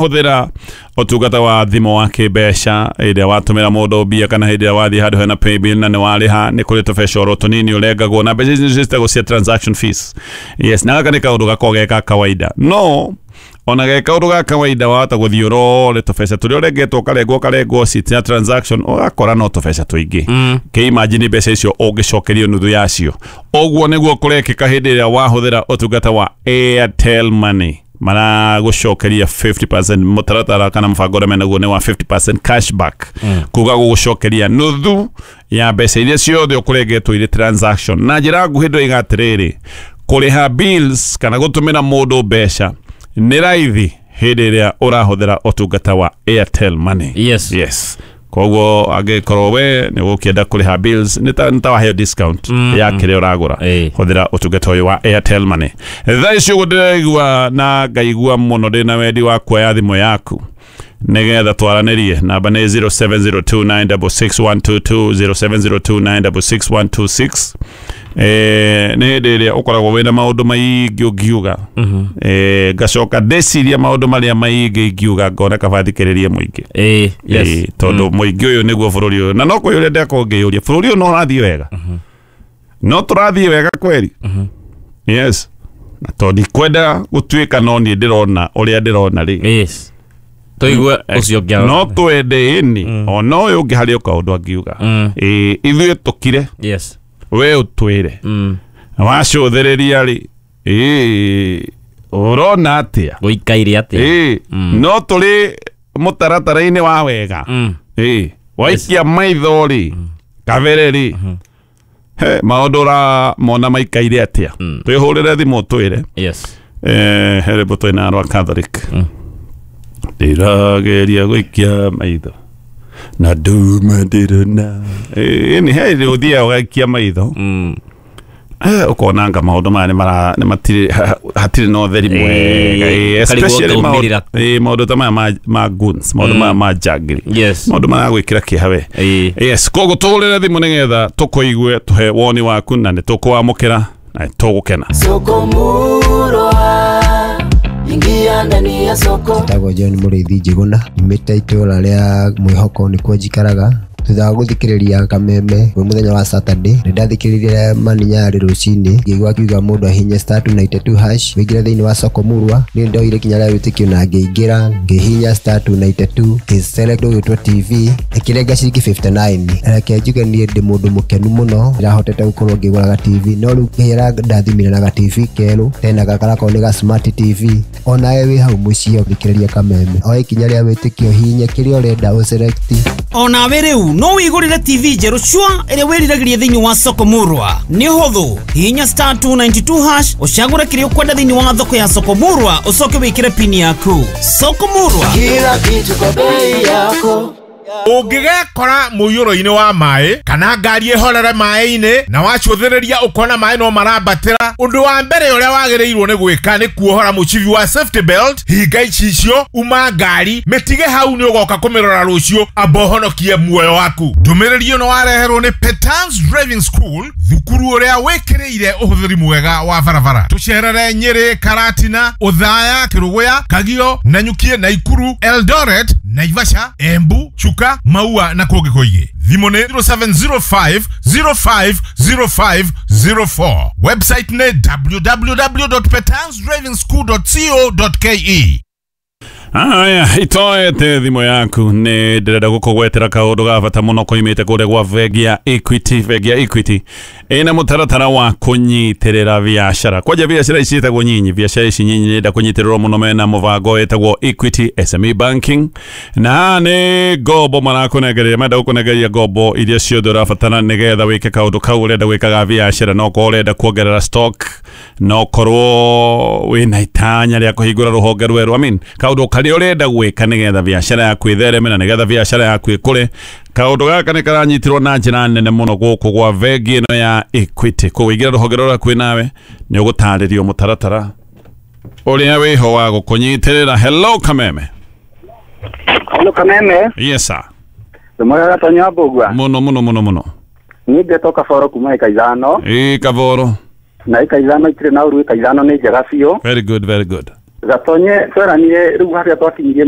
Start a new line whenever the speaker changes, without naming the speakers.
Hũthĩra ũtungata wa thimũ wa kĩmbeca ĩrĩa watũmĩra mũndũ mbia kana hĩndĩ ĩrĩa wathiĩ handũ hena paybill na nĩ warĩha, nĩ kũrĩ tũbeca oro tũnini ũrengagwo na mbeca ici ciĩtagwo cia transaction fees. Yes, na gaka nĩ kaũndũ gakoragwo ge ka kawaida, no ona ge kaũndũ ga kawaida wahota gũthiĩ ũrore tũbeca tũrĩa ũrengetwo, ũkarengwo ũkarengwo cia transaction, ũgakora no tũbeca tũingĩ. Kĩ imagine mbeca icio ũngĩcokerio nuthu yacio. Ũguo nĩguo kũrekĩka hĩndĩ ĩrĩa wahũthĩra ũtungata wa Airtel Money, maragũcokeria 50%. Mũtaratara kana mũbango ũrĩa menaguo nĩ wa 50% cashback, kuga gũgũcokeria nuthu ya mbeca iria ciothe ũkũrengetwo irĩ transaction. Na njĩra nguhĩ ndĩroiga atĩrĩrĩ, kũrĩha bills kana gũtũmĩra mũndũ mbeca nĩ raithi hĩndĩ ĩrĩa ũrahũthĩra ũtungata wa Airtel Money. Yes, koguo angĩkorwo we nĩ ũgũkĩenda kũrĩha bills, nĩ ta waheo discount ya kĩrĩa ũragũra. Hũthĩra ũtungata ũyũ wa Airtel Money. Thaa ici ũguo ndĩraigua na ngaigua mũno ndĩna wendi wa kuoya thimũ yaku nĩgetha twaranĩrie. Namba nĩ 0702966122, 0702966126. Nĩ hĩndĩ ĩrĩa ũkoragwo wĩna maũndũ maingĩ ũngiuga. Ngacoka ndeciria maũndũ marĩa maingĩ ingiuga, ngona kaba thikĩrĩrie mũingĩ. Tondũ mũingĩ ũyũ nĩguo bũrũri ũyũ, na no kwĩyũria ndĩrakorwo ngĩyũria, bũrũri ũyũ no ũrathiĩ wega? No tũrathiĩ wega kweri? Yes, na tondũ ndikwenda gũtuĩka no niĩ ndĩrona ũrĩa ndĩrona rĩ.
Yes, tũigue ũcio ũngĩ.
No twende ĩni ona ũyũ ũngĩ harĩ o kaũndũ angiuga. Ĩ, ithuĩ tũkire. We ũtwĩre wacũthĩrĩria rĩ, ĩ ũrona atĩa?
Gũikaire atĩa?
Ĩ, no tũrĩ mũtaratara-inĩ wa wega. Ĩ waikia maitho rĩ, kabere rĩ, he maũndũ ũramona maikaire atĩa? Twĩhũrĩre thimũ twĩre. He rwĩmbo twĩna rwa Catholic, ndĩrageria gũikia maitho na nduma ndĩrona. Ĩni he rĩ ũthiaga ũgaikia maitho, ũkona anga maũndũ maya nĩ matirĩ hatirĩ na ũtheri mwega.
Karigwo
especially
ngaumĩrĩra.
Maũndũ ta maya ma goons, maũndũ maya ma njangiri, maũndũ maragwĩkĩra kĩeha we. Yes, koguo tũhũrĩre thimũ nĩgetha tũkũigue, tũhe woni waku, na nĩ tũkũwamũkĩra na nĩ tũgũkena.
Soko Murwa, ingia ndani ya soko.
Njĩtagwo John Mũrĩithi Njĩgũna, nyumĩte itũra rĩa Mwĩhoko, nĩkuo njikaraga. Thutha wa gũthikĩrĩria Kameme kwĩ mũthenya wa Saturday, nĩ ndathikĩrĩirie Mani Nyarĩ rũcinĩ, ngĩigua akiuga mũndũ ahihinye *292# wĩingĩre thĩinĩ wa soko Murwa. Niĩ ndoire ikinya rĩa wĩtĩkio na ngĩingĩra, ngĩhihinya *292, ngĩ-select ũgĩtwo TV, ĩkĩrenga ciringi 59. Reke njuge niĩ ndĩ mũndũ mũkenu mũno, ndĩrahotete gũkorwo ngĩgũraga TV, no rĩu Ngai arandathimire na ga TV kerũ, tena gakarakorwo nĩ ga smart TV. Onawe wĩ hau mũciĩ ũthikĩrĩria Kameme, oe ikinya rĩa wĩtĩkio, hihinya kĩrĩa ũrenda, ũselect.
Onawe rĩu no wĩgũrĩre TV njerũ cua ĩrĩa wĩriragĩria thĩinĩ wa soko Murwa. Nĩ ũhũthũ, hihinya *292# ũcagũre kĩrĩa ũkwenda thĩinĩ wa thoko ya soko Murwa, ũcoke wĩkĩre pini yaku. Soko Murwa.
Kila kitu kwa bei yako.
Ũngĩgekora mũiyũro-inĩ wa maĩ kana ngari ĩhorere maĩ-inĩ na wacũthĩrĩria ũkona maĩ no marambatĩra, ũndũ wa mbere ũrĩa wagĩrĩirwo nĩ gwĩka nĩ kuohora mũcibi wa safety belt, hinga icicio, uma ngari, mĩtige hau, nĩ ũgoka kũmĩrora rũciũ, amba ũhonokie muoyo waku. Ndũmĩrĩri ĩno wareherwo nĩ Petans Driving School, thukuru ũrĩa wĩkĩrĩire ũhũthĩri mwega wa barabara. Tũcerere Nyĩrĩ, Karatina, Ũthaya, Kĩrũgũya, Kagio, Nanyukie, Naikuru, Eldoret, Naivasha, Embu, Chuka, Maua na kũngĩ kũingĩ. Thimũ nĩ 0705 05 0504. Website nĩ www.petansdrivingschool.co.ke.
Aya, itoete thimũ yaku, nĩ ndĩrenda gũkũgwetera kaũndũ ga bata mũno koimĩte kũrĩa gwa bengi ya Equity. Bengi ya Equity ĩna mũtaratara wa kũnyitĩrĩra biacara, kwanja biacara ici ciĩtagwo nyinyi. Biacara ici nyinyi nĩenda kũnyitĩrĩrwo mũno. Mena mũbango wĩtagwo Equity SME Banking, na haha nĩ ngombo marakũnengereria, marenda gũkũnengereria ngombo iria ciothe ũrabatara nĩgetha wĩke kaũndũ kau ũrenda gwĩka ga biacara. No korwo ũrenda kuongerera stock, no korwo wĩna itanya rĩa kũhingũra rũhonge rwerũ, I mean, kaũndũ karĩa ũrenda gwĩka nĩgetha biacara yaku ĩthereme na nĩgetha biacara yaku ĩkũre. Kaũndũ gaka nĩ karanyitirwo na njĩra nene mũno gũkũ gwa bengi ĩno ya Equity. Koguo ingĩra rũhonge rũrĩa kwĩ nawe, nĩ ũgũtarĩrio mũtaratara ũrĩa wĩho wa gũkũnyitĩrĩra. Hello, Kameme.
Hello, Kameme.
Yes sir.
Ndũmwega Gatonya Mbũgua.
Mũno mũno mũno mũno.
Niĩ ngetwo Kaboro kuma ĩka 5.
Ĩ, Kaboro.
Na ĩka 5 itirĩ na ũru, ĩka 5 nĩ njega biũ.
Very good, very good.
Gatonye tweranire rĩu harĩa twakinyirie.